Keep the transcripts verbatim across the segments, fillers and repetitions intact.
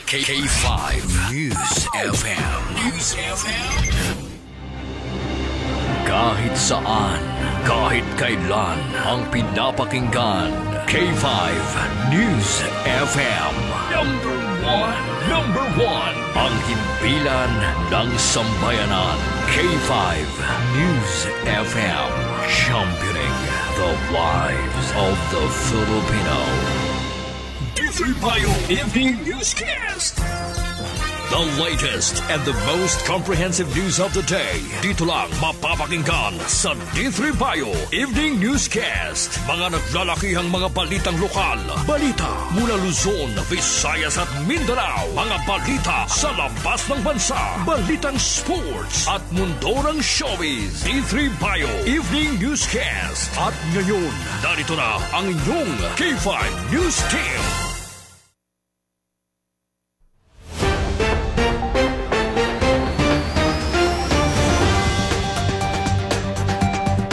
K five News F M. News F M. Kahit saan, kahit kailan, ang pinapakinggan, K five News F M. Number one, number one, ang himpilan ng sambayanan. K five News F M, championing the lives of the Filipino. D three Bio Evening Newscast. The latest and the most comprehensive news of the day. Dito lang mapapakinggan sa D three Bio Evening Newscast. Mga naglalakihang mga balitang lokal. Balita mula Luzon, Visayas at Mindanao. Mga balita sa labas ng bansa. Balitang sports at mundo ng showbiz. D three Bio Evening Newscast. At ngayon, narito na ang inyong K five News Team.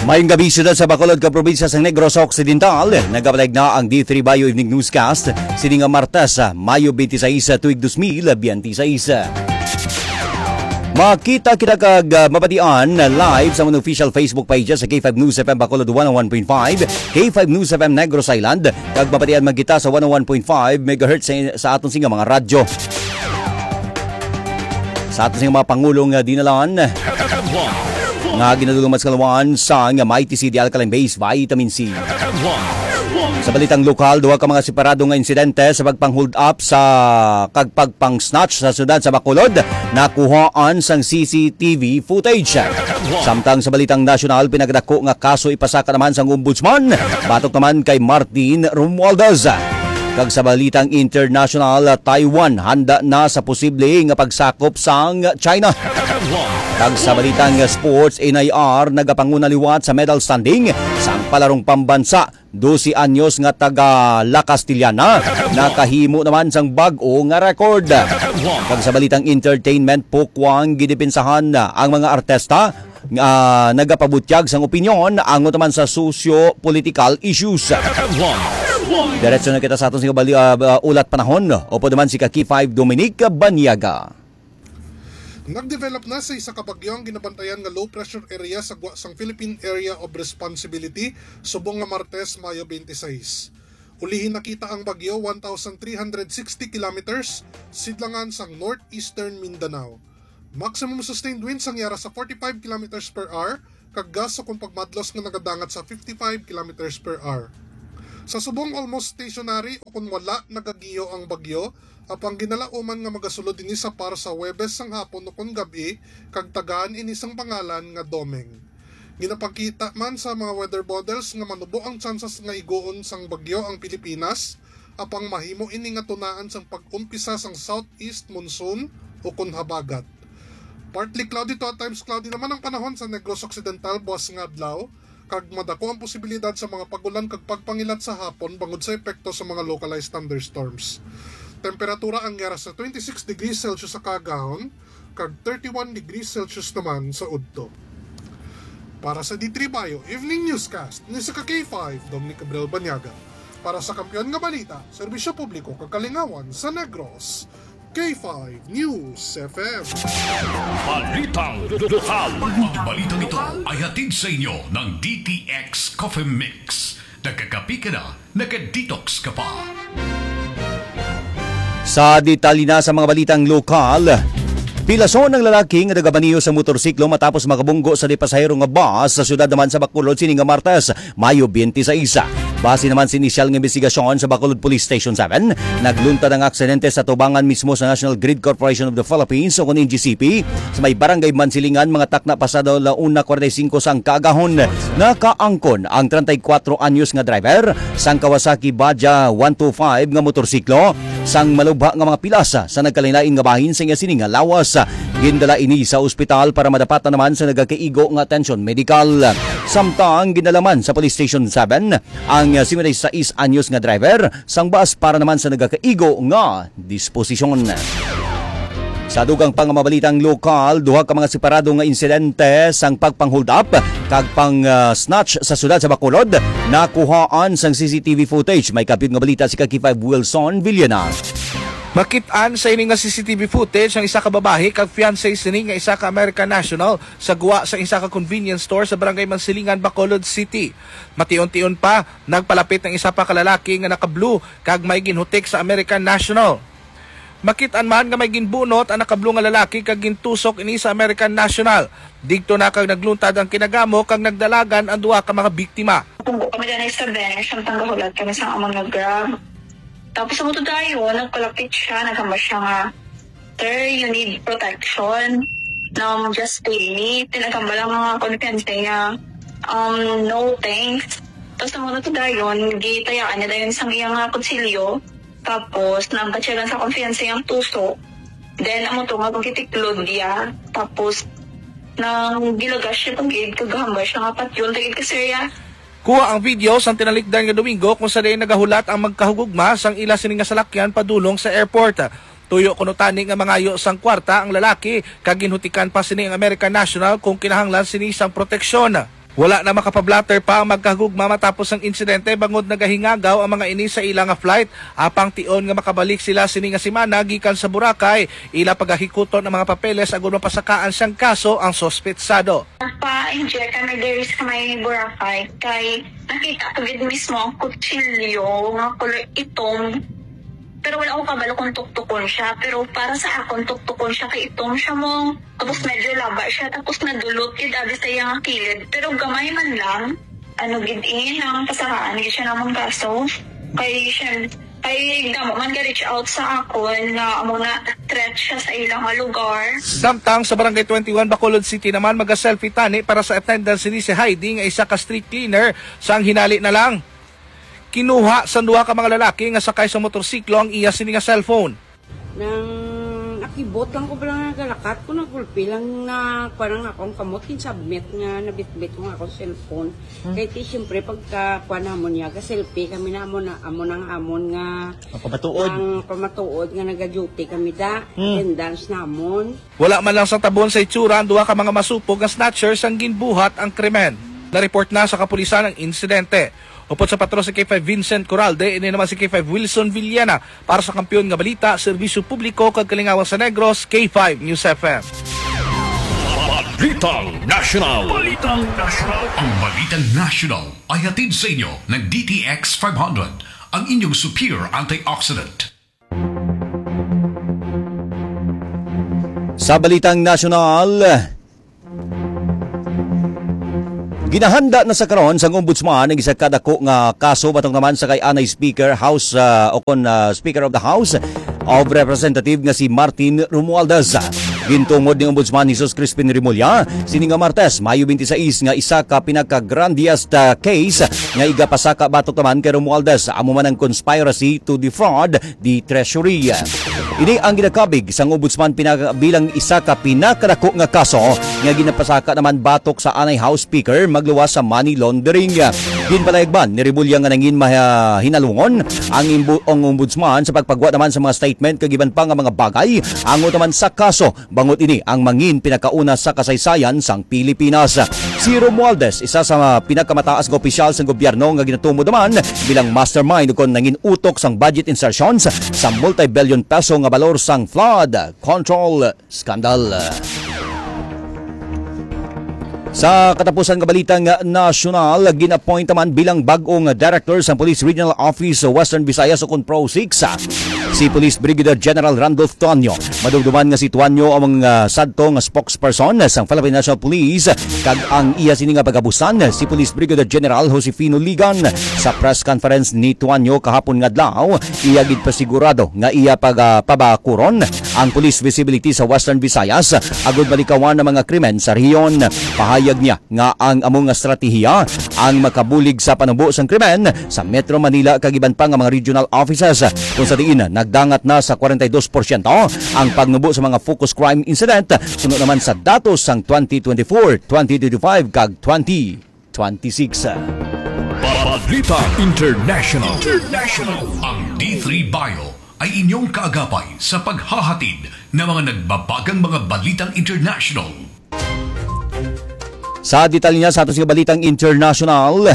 Mayong gabi, siyudad sa Bacolod, ka probinsya sa Negros Occidental. Nagapalig na ang D three Bio Evening Newscast, sini nga Martes, ah, Mayo twenty-six, ah, tuig dos mil biyente seis. Makita kita kag, ah, mabatian, ah, live sa amon official Facebook page sa K five News F M Bacolod one oh one point five, K five News F M Negros Island, kag mabatian man kita sa one oh one point five megahertz sa, sa aton singa mga radyo. Sa aton singa mga pangulong nga dinalan, nga ginadulungan sa kalawan sang Mighty C D Alkaline Base Vitamin C. Sa balitang lokal, duha ka mga separado nga insidente sa pagpang-hold up sa kag pagpang-snatch sa siyudad sa Bacolod nakuhaan sang C C T V footage. Samtang sa balitang nasyonal, pinakadako nga kaso ipasaka naman sang ombudsman batok naman kay Martin Romualdez. Kag sa balitang international, Taiwan handa na sa posible nga pagsakop sang China. Kag sa balitang sports, N I R nagapanguna liwat sa medal standing sang palarong pambansa. Dose anyos nga taga La Castellana nakahimo naman sang bag-o nga record. Kag sa balitang entertainment, Pokwang gidepensahan ang mga artista nga nagapabutyag sang opinyon angot naman sa socio-political issues. Diretso na kita sa aton sing bali-, ah, ah, ulat panahon. Upod naman si ka K five Dominic Banyaga. Nagdevelop na sa isa ka bagyo ang ginabantayan nga low pressure area sa gwa sang Philippine Area of Responsibility subong nga Martes, Mayo twenty-six. Ulihi nakita ang bagyo one thousand three hundred sixty kilometers sidlangan sang northeastern Mindanao. Maximum sustained winds ang yara sa forty-five kilometers per hour kag gust kon pagmadlos nga nagadangat sa fifty-five kilometers per hour. Sa subong, almost stationary o kon wala nagagiyo ang bagyo, apang ginalauman nga magasulod ini sa par sa Huwebes sang hapon o kon gab-i, kag tagaan ini sang pangalan nga Domeng. Ginapakita man sa mga weather models nga manubo ang tsansas nga iguon sang bagyo ang Pilipinas, apang mahimo ini nga tunaan sang pag-umpisa sang southeast monsoon o kon habagat. Partly cloudy to at times cloudy naman ang panahon sa Negros Occidental buas nga adlaw, kag madako ang posibilidad sa mga pag-ulan kag pagpangilat sa hapon bangod sa epekto sa mga localized thunderstorms. Temperatura ang yara sa twenty-six degrees Celsius sa kaagahon kag thirty-one degrees Celsius naman sa udto. Para sa D three Bio Evening Newscast, ni sa ka K five, Dominic Gabriel Banyaga. Para sa Kampiyon nga Balita, Serbisyo Publiko kag Kalingawan sa Negros, K five News F M. Balitang lokal. Ang mga balitang ito ay hatid sa inyo ng D T X Coffee Mix. Nagkakape ka na, naka-detox ka pa. Sa detalye na sa mga balitang lokal, pilason ang lalaki nga nagabaniyo sa motorsiklo matapos makabunggo sa di pasahero nga bus sa siyudad naman sa Bacolod sini nga Martes, Mayo twenty-six. Base naman sa inisyal nga investigasyon sa Bacolod Police Station seven, nagluntad ang aksidente sa tubangan mismo sa National Grid Corporation of the Philippines o kon N G C P sa may Barangay Mansilingan, mga takna pasado la una kwarenta y singko sang kaagahon. Nakaangkon ang treinta y cuatro anyos nga driver sang Kawasaki Baja one two five nga motorsiklo sang malubha nga mga pilas sa nagkalain-lain nga bahin sa iya sini nga lawas. Gindala ini sa ospital para madapatan naman sa nagakaigo nga atensyon medikal. Samtang ginalaman sa Police Station seven ang singkwenta y sais anyos nga driver sang bus para naman sa nagakaigo nga disposisyon. Sa dugang pa nga mga balitang lokal, duha ka mga separado nga insidente sang pagpang-hold up kag pang, ah, snatch sa siyudad sa Bacolod nakuhaan sang C C T V footage. May kapyot nga balita si ka K five Wilson Villena. Makit-an sa ini nga C C T V footage ang isa ka babayi kag fiancé sini nga isa ka American national sa gwa sa isa ka convenience store sa Barangay Mansilingan, Bacolod City. Mation-tion pa, nagpalapit ang isa pa ka lalaki nga naka-blue kag may ginhutik sa American national. Makit-an man nga may ginbunot ang naka-blue nga lalaki kag gintusok ini sa American national. Digto na kag nagluntad ang kinagamo kag nagdalagan ang duha ka mga biktima. Pungko kami dyan sa bench, samtang gahulat kami sa amon nga grab. Tapos ang dayon, nagpalapit siya, naghambal siya nga, "Sir, you need protection. Um, just pay me." Tinaghambal ang mga konfidente niya, um, "No, thanks." Tapos ang dayon, gitayaan niya dayon sang iya nga kutsilyo. Tapos, nagbatyagan sa konfidente niyang tuso. Then, amo to nga pagkitiklod niya. Tapos, nang gilagas siya pag-id, kagahambal siya nga patyon, tagid ka, sir, ya. Kuha ang video sang tinalikdan nga Domingo kung sa diin nagahulat ang magkahugugma sang ila sini nga salakyan padulong sa airport. Tuyo kuno tani nga mangayo sang kwarta ang lalaki kag ginhutikan pa sini ang American national kung kinahanglan sini sang proteksyon. Wala na makapablatter pa ang magkahugugma matapos ang insidente bangod nagahingagaw ang mga ini sa ila nga flight. Apang tion nga makabalik sila sini nga semana gikan sa Boracay, ila pagahikuton ang mga papeles agud mapasakaan sang kaso ang suspetsado. Nagpa-inject kami diri sa may Boracay kay nakita ko gid mismo ang kutsilyo nga kulay itom. Pero wala ko kabalo kung tuktukon siya. Pero para sa akon, tuktukon siya kay itom siya mo. Tapos medyo laba siya. Tapos nadulot gid abi sa iya nga kilid. Pero gamay man lang. Ano gid ini ang pasakaan gid siya namang kaso. Kay siya, kay damo man ga-reach out sa akon nga amo na threat siya sa ilang nga lugar. Samtang sa Barangay twenty-one, Bacolod City naman, maga-selfie tani para sa attendance ni si Heidi nga isa ka street cleaner sang hinali na lang. Kinuha sang duha ka mga lalaki nga sakay sa motorsiklo ang iya sini nga cellphone. Nang nakibot lang ko pala nga galakat ko, nagulpi lang na kuwan ang akong kamot, kinsabmit nga nabitbit ko nga akong cellphone. Hmm. Kaya ti, siyempre, pagka kuwan namon niya, ga-selfie kami na amo na, amo nang amon nga Ang pamatuod. Ang pamatuod nga naga-duty kami da, Hmm. attendance namon. Wala man lang sa tabon sa itsura ang duha ka mga masupog nga snatcher sang ginbuhat ang krimen. Na-report na sa kapulisan ang insidente. Upod sa patro si K five Vincent Coralde, ini naman si K five Wilson Villena para sa Kampiyon nga Balita, Serbisyo Publiko kag Kalingawan sa Negros, K five News F M. Balitang National. Balitang National. Ang Balitang National ay hatid sa inyo ng D T X five hundred, ang inyong superior antioxidant. Sa balitang nasyonal, ginahanda na sa karon sang Ombudsman ang isa ka dako nga kaso batok naman sa kay anay Speaker, House, ah, o kon, ah, Speaker of the House of Representative nga si Martin Romualdez. Gintungod ni Ombudsman Jesus Crispin Remulla sini nga Martes, Mayo twenty-six, nga isa ka pinaka-grandiest, ah, case nga igapasaka batok naman kay Romualdez, amo man ang conspiracy to defraud the Treasury. Ini ang ginakabig sang Ombudsman pina-, bilang isa ka pinakadako nga kaso nga ginapasaka naman batok sa anay House Speaker magluwas sa money laundering. Ginpalayag man ni Remulla nga nangin mahinalungon ang imbu-, ang Ombudsman sa pagpagwa naman sa mga statement kag iban pa nga mga bagay angot naman sa kaso. Bangod ini ang mangin pinakauna sa kasaysayan sang Pilipinas. Si Romualdez, isa sa mga pinakamataas nga opisyal sang gobyerno nga ginatumod naman bilang mastermind kon nangin utok sang budget insertions sa multi-billion peso nga balor sang flood control scandal. Sa katapusan nga balitang nasyonal, gin-appoint naman bilang bag-ong director sa Police Regional Office sa Western Visayas o kon PROSIC si Police Brigadier General Randolph Tuanyo. Madumduman nga si Tuanyo ang, ah, sadto nga spokesperson sang Philippine National Police, kag ang iya sini nga pagabusan si Police Brigadier General Josefino Ligan. Sa press conference ni Tuanyo kahapon nga adlaw, iya gid pasigurado nga iya pag, ah, pabakuron ang police visibility sa Western Visayas agud malikawan ang mga krimen sa rehiyon. Pahayag niya nga ang amo nga estratehiya ang makabulig sa panubo sang krimen sa Metro Manila kag iban pa nga mga regional offices, kung sa diin nagdangat na sa kwarenta y dos porsyento ang pagnubo sa mga focus crime incident suno naman sa datos sang twenty twenty-four, twenty twenty-five kag twenty twenty-six. Balita International. International. Ang D three Bio ay inyong kaagapay sa paghahatid ng mga nagbabagang mga balitang international. Sa detalye niya sa aton nga balitang international,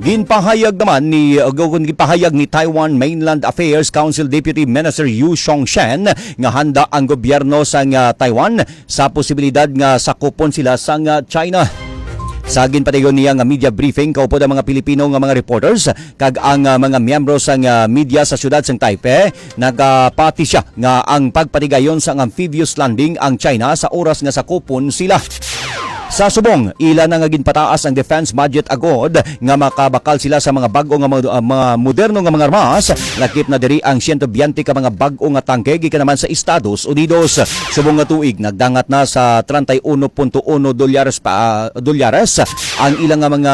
Ginpahayag naman ni, o ginpahayag ni Taiwan Mainland Affairs Council Deputy Minister Yu Xiong Shen nga handa ang gobyerno sang, ah, Taiwan sa posibilidad nga sakupon sila sang, ah, China. Sa ginpadayon niya nga media briefing kaupod ang mga Pilipino nga mga reporters kag ang, ah, mga miyembro sang, ah, media sa siyudad sang Taipei, nagapati siya nga ang pagpatigayon sang amphibious landing ang China sa oras nga sakupon sila. Sa subong, ila na nga ginpataas ang defense budget agod nga makabakal sila sa mga bag-o nga mga, ah, mga moderno nga mga armas, lakip na diri ang siyento biyente ka mga bag-o nga tangke gikan naman sa Estados Unidos. Subong nga tuig, nagdangat na sa treinta y uno punto uno dolyares pa, ah, dolyares ang ilang nga mga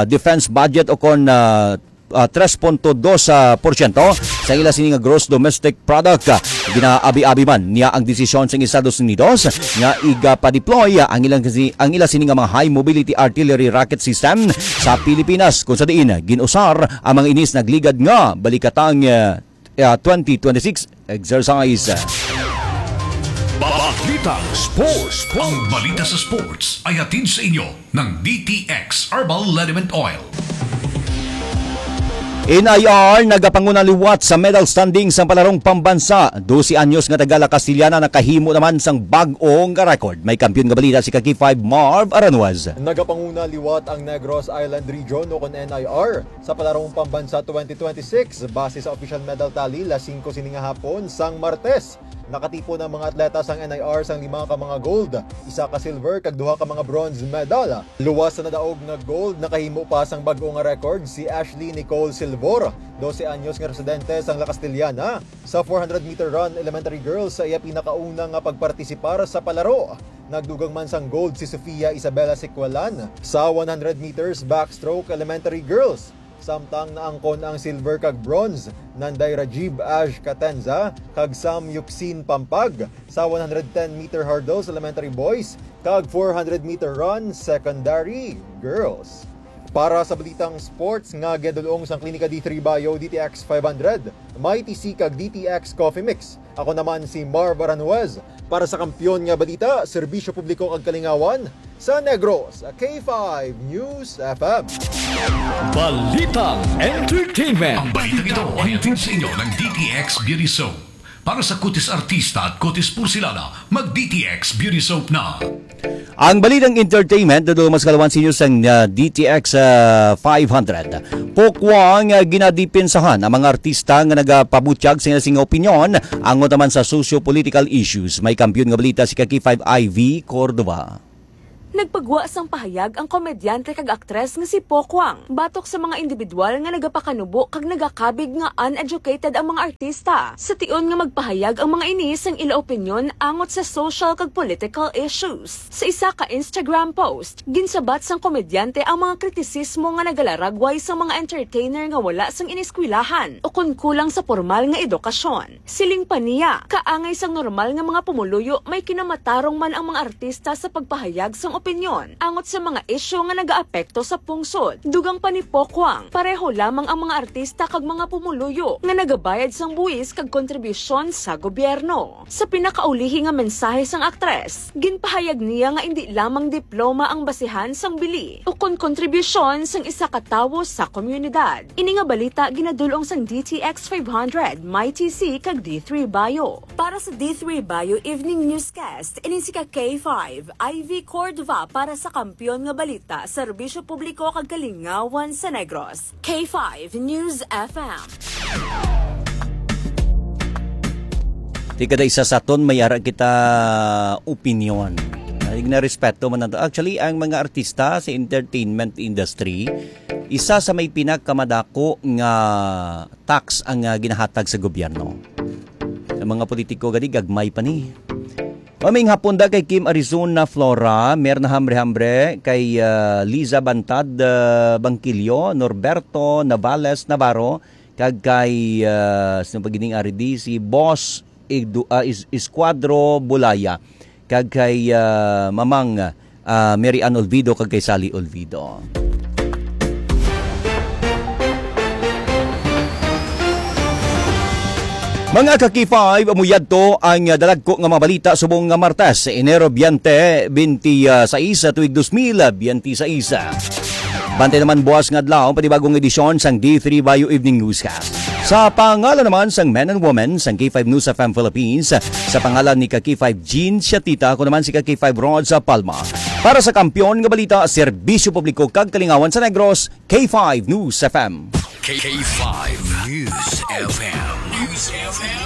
defense budget o kon, ah, ah, tres punto dos, ah, porsyento sa ila sini nga gross domestic product. Ginaabi-abi man niya ang desisyon sa Estados Unidos nga iga-deploy ang ilang kasi, ang ila sini nga mga high mobility artillery rocket system sa Pilipinas, kung sa diin ginusar ang mga inis nagligad nga balikatang, ah, ah, twenty twenty-six exercise. Balitang Sports. Ang balita sa sports ay hatid sa inyo ng D T X Herbal Liniment Oil. N I R nagapanguna liwat sa medal standing sa palarong pambansa. Dose anyos nga taga La Castellana nakahimo naman sang bag-o nga record. May kampiyon nga balita si ka K five Marv Aranuez. Nagapanguna liwat ang Negros Island Region o kon N I R sa palarong pambansa twenty twenty-six. Base sa official medal tally, las singko sini nga hapon sang Martes, nakatipon ang mga atleta sang N I R sang lima ka mga gold, isa ka silver, kag duha ka mga bronze medal. Luwas sa nadaog nga gold, nakahimo pa sang bag-o nga record si Ashley Nicole Silvor, dose anyos nga residente sang La Castellana. Sa four hundred meter run elementary girls, sa iya pinakauna nga pagpartisipar sa palaro. Nagdugang man sang gold si Sofia Isabela Sicualan sa one hundred meters backstroke elementary girls. Samtang naangkon ang silver kag bronze, Nanday Rajiv Ash Catenza kag Sam Yuxin Pampag sa one hundred ten meter hurdles elementary boys kag four hundred meter run secondary girls. Para sa balitang sports nga ginadul-ong sang Klinika D three Bio, D T X five hundred, Mighty C kag D T X Coffee Mix, ako naman si Marv Aranjuez para sa Kampiyon nga Balita, Serbisyo Publiko kag Kalingawan sa Negros, K five News F M. Balitang Entertainment. Ang balitang ito ay hatid sa inyo ng D T X Beauty Soap. Para sa kutis artista at kutis porselana, mag D T X Beauty Soap na. Ang balitang entertainment, nadul-ong sa kalawan sa inyo sang, ah, D T X, ah, five hundred. Pokwang, ah, ginadipinsahan ang mga artista nga nagapabutyag sa ila sing opinyon angot naman sa socio-political issues. May kampiyon nga balita si ka K five Ivy Cordova. Nagpagwa sang pahayag ang komedyante kag aktres nga si Pokwang batok sa mga individual nga nagapakanubo kag nagakabig nga uneducated ang mga artista, sa tion nga magpahayag ang mga ini sang ila opinyon angot sa social kag political issues. Sa isa ka Instagram post, ginsabat sang komedyante ang mga kritisismo nga nagalaragway sang mga entertainer nga wala sang ineskwelahan o kon kulang sa pormal nga edukasyon. Siling pa niya, kaangay sang normal nga mga pumuluyo, may kinamatarong man ang mga artista sa pagpahayag sang opinyon angot sa mga isyu nga nagaapekto sa pungsod. Dugang pa ni Pokwang, pareho lamang ang mga artista kag mga pumuluyo nga nagabayad sang buwis kag kontribusyon sa gobyerno. Sa pinakaulihi nga mensahe sang aktres, ginpahayag niya nga indi lamang diploma ang basihan sang bili ukon kontribusyon sang isa ka tawo sa komunidad. Ini nga balita ginadul-ong sang D T X five hundred, Mighty C, kag D three Bio. Para sa D three Bio Evening Newscast, ini si ka K five, Ivy Cordova para sa Kampiyon nga Balita, Serbisyo Publiko kag Kalingawan sa Negros, K five News F M. Di kada isa sa aton may ara kita opinyon. Ay, na respeto man nato. Actually, ang mga artista sa entertainment industry, isa sa may pinakamadako nga tax ang, ah, ginahatag sa gobyerno. Sa mga politiko, gani, gagmay pa ni. Maming hapon da kay Kim Arizona Flora, Merna Hambre Hambre, kay, ah, Liza Bantad, ah, Bangkilio, Norberto Navales Navarro, kag kay, ah, sino pa gining ari di? Si Boss Edu-, ah, Is-, Escuadro Bulaya, kag kay, ah, Mamang, ah, Mary Ann Olvido, kag kay Sally Olvido. Mga ka-K five, amo yadto ang, ah, dalagko nga mga balita subong nga Martes, Enero veinte, twenty-six, tuig dos mil twenty-six. Bantay naman buwas nga adlaw, panibagong edisyon sang D three Bayo Evening Newscast. Sa pangalan naman sang men and women sang K five News F M Philippines, sa pangalan ni ka K five Jean Siatita, ako naman si ka K five Rod sa Palma. Para sa Kampiyon nga Balita, Serbisyo Publiko kag Kalingawan sa Negros, K five News F M. K five News F M. News F M.